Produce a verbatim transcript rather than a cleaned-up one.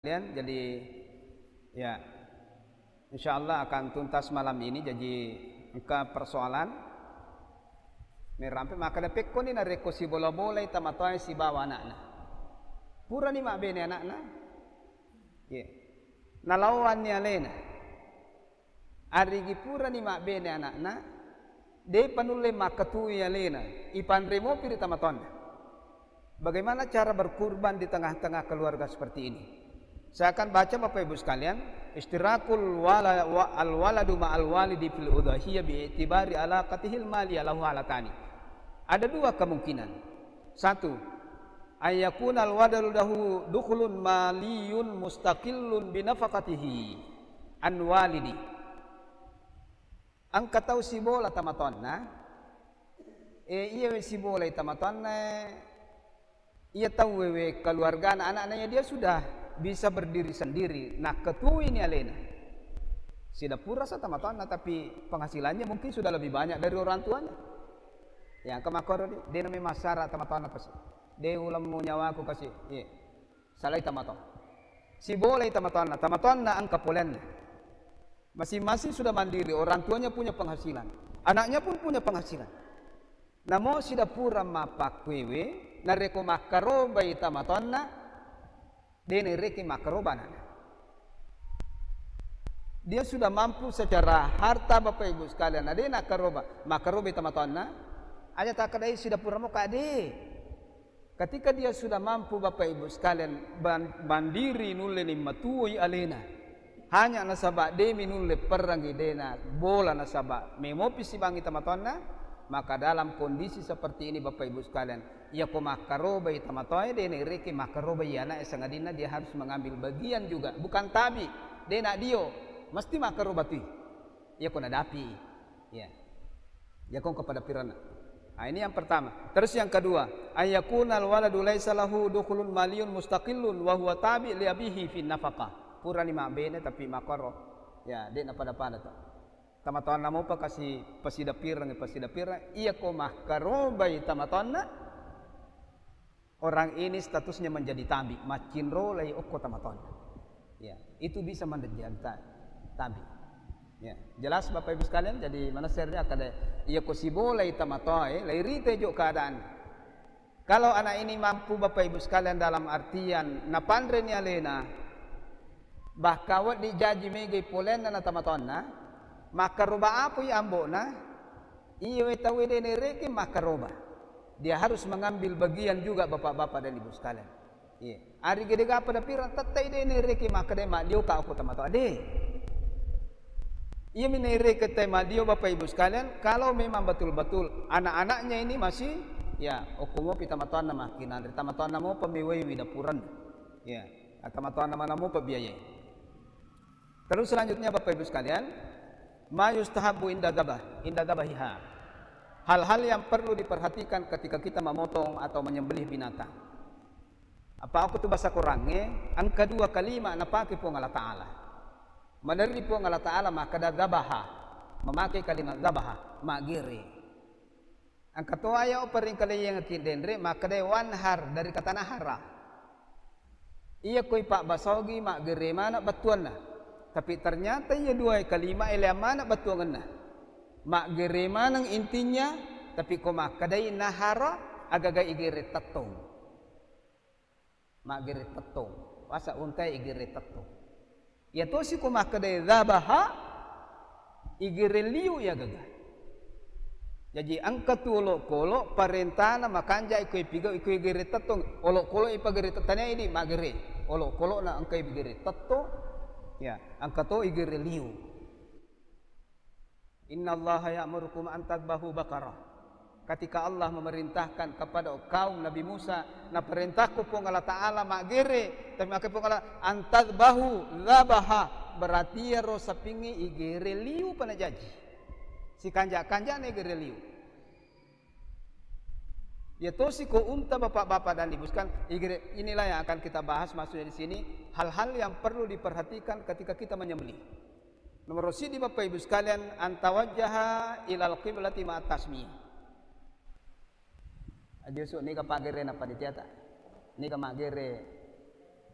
Jadi, ya, insya Allah akan tuntas malam ini. Jadi, engka persoalan merampe, maka pekkoni narekko sibola-bolai tomatoae sibawa ana'na. Purani mabbene ana'na? Iya. Nalaowanni alena. Arigi purani mabbene ana'na, de'pa nulle makkatui alena, ipanre mopi ri tomatoanna. Bagaimana cara berkurban di tengah-tengah keluarga seperti ini? Saya akan baca, Bapak Ibu sekalian, istirakul wala-, wa-, al-waladu ma'al walidi fil udhiyah bi'tibari alaqatihil maliyah lahu halatani. Ada dua kemungkinan. Satu, ayyakunal waladu lahu dukhulun maliyun mustaqillun binafaqatihi an walidi. Engka tau sibola tomatoanna, e, iyawe sibolai tomatoanna, e, iya tauwe we keluargana, anakna, ya, dia sudah bisa berdiri sendiri, nakkatuini alena. Sida purasa tomatoanna, tapi penghasilannya mungkin sudah lebih banyak dari orang tuanya. Ya, engka makkoro di, de' nami massara tomatoanna pasi. De' ulemmu nyawaku kasi. Iya. Salai tomatoa. Sibolai tomatoanna, tomatoanna engka polenna. Masing-masing sudah mandiri, orang tuanya punya penghasilan. Anaknya pun punya penghasilan. Namo sida pura mappakkuewe, narekko makkarobai tomatoanna, de' naerekeng makkaroba anakna. Dia sudah mampu secara harta, Bapak Ibu sekalian, na de' nakkaroba, makkarobai tomatoanna, aja takkedai sida pura moka, de'. Ketika dia sudah mampu, Bapak Ibu sekalian, ban-, mandiri, nulle ni matuoi alena. Hanya nasaba de'mi nulle perrangi, de'na bola nasaba memopi sibangngi tomatoanna, maka dalam kondisi seperti ini, Bapak Ibu sekalian, iyako makkarobai tomatoae, de' naerekeng makkarobai anakna, sangadinna dia harus mengambil bagian juga. Bukan tabi, de' nadio, mesti makkaroba tui. Iyako nadapi. Ya. Iyako engka pada piranna. Nah, ini yang pertama. Terus yang kedua, ayyakunal waladu laisa lahu dukhulun maliyun mustaqillun wa huwa tabi' li abihi fin nafaqah. Purani mabbene tapi makkoro. Ya, de' napada-pada to. Tomatoanna mopa kasi pasidapireng, pasidapireng. Iyako makkarobai tomatoanna, orang ini statusnya menjadi tabi, maccinrolai okko tomatoanna. Ya, itu bisa menjadi ta-, tabi. Ya, jelas Bapak Ibu sekalian, jadi manessani akkeda, iyako sibolai tomatoae, lairita jo keadaan. Kalau anak ini mampu, Bapak Ibu sekalian, dalam artian napanreni alena, bahkan wedding jaji megai polenna na tomatoanna, makkaroba apoi ambo'na, iyawe tauwe de' naerekeng makkaroba. Dia harus mengambil bagian juga, Bapak-bapak dan Ibu sekalian. Iya. Ari gede gapa dapireng, tettai de' naerekeng makkedai maddio ka okko tomatoa, de'. Iyami naerekeng tauwe maddio, Bapak Ibu sekalian, kalau memang betul-betul anak-anaknya ini masih, ya, okko mopi tomatoanna makkinanre, tomatoanna mopa mewaiwi dapurenna. Ya, tomatoanna mana mopa biayai. Terus selanjutnya, Bapak Ibu sekalian, ma yustahabbu inda dzabah, inda dzabahiha. Hal-hal yang perlu diperhatikan ketika kita memotong atau menyembelih binatang. Apa aku tu bahasa Qurannya, engka dua kalimat napake Puang Allah Ta'ala. Maderri Puang Allah Ta'ala makkeda dzabaha, memakai kalimat dzabaha, maggere. Engka to aya uparingkalinga ki denre makkedai wanhar dari kata nahara. Iya koi pabbasogi maggere maneng bettuanna. Tapi ternyata iya dua kalimat eleang maneng bettuangenna. Maggere maneng intinya, tapi ko makkedai nahara, agaga igere tettong. Maggere tettong. Wasa untae igere tettong. Iya tosi ko makkedai dzabaha, igere liu iya gaga. Jaji engka tu olokolo parentana makanjai ko ipigau iko igere tettong. Olokolo ipagere tettong idi maggere. Olokolo na engka igere tettong. Ya, engka to igere liu. Innallaha ya'murukum an tadbahu baqarah. Ketika Allah memerintahkan kepada kaum Nabi Musa, naperintahku Puang Allah Ta'ala maggere, tapi makkeda Puang Allah, an tadbahu dzabaha, berarti iyaro sapingnge igere liu pa najaji. Sikanja-kanjana igere liu. Ya tosi ko unta, Bapak-bapak dan Ibu sekalian, igere, inilah yang akan kita bahas maksudnya di sini, hal-hal yang perlu diperhatikan ketika kita menyembelih. Nomor sidi, Bapak Ibu sekalian, antawajjaha ilal qiblati ma'at tasmiyah. Aja su niga pagere na panitia ta. Niga magere